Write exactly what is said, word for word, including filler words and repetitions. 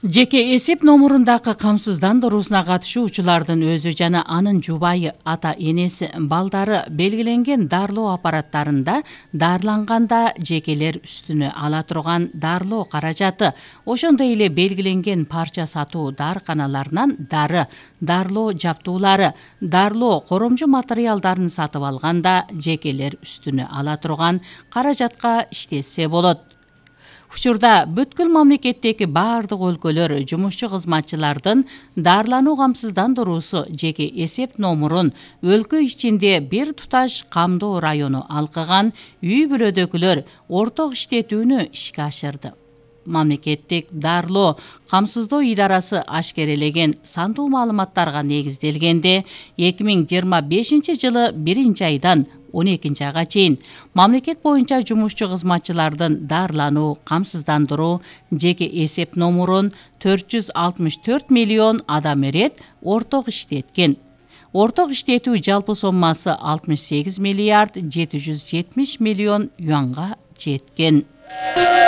Жеке эсеп номурундагы камсыздандыруусуна катышуучулардын өзү жана анын жубайы, ата-энеси, балдары белгиленген дарылоо аппараттарында дарыланганда жекелер үстүнө ала турган дарылоо каражаты, ошондой эле белгиленген парча сатуу дарыканаларынан дары, дарылоо жаптуулары, дарылоо коромжу материалдарын сатып алганда жекелер үстүнө ала турган каражатка иштетсе болот. Учурда бүткүл мамлекеттеги баардык өлкөлөр жумушчу кызматчылардын дарылануу камсыздандыруусу жеке эсеп номурун өлкө ичинде бир туташ камдоо району алкыган үй бүлөдөгүлөр орток иштетүүнү ишке ашырды. Мамлекеттик дарылоо камсыздоо идарасы ашкерелеген сандуу маалыматтарга негизделгенде эки миң жыйырма бешинчи жылы биринчи айдан он экинчи айга чейин мамлекет боюнча жумушчу кызматчылардын дарылануу камсыздандыруу жеке эсеп номурун төрт жүз алтымыш төрт миллион адам эрет орток иштеткен. Орток иштетүү жалпы соммасы алтымыш сегиз миллиард жети жүз жетимиш миллион юанга жеткен.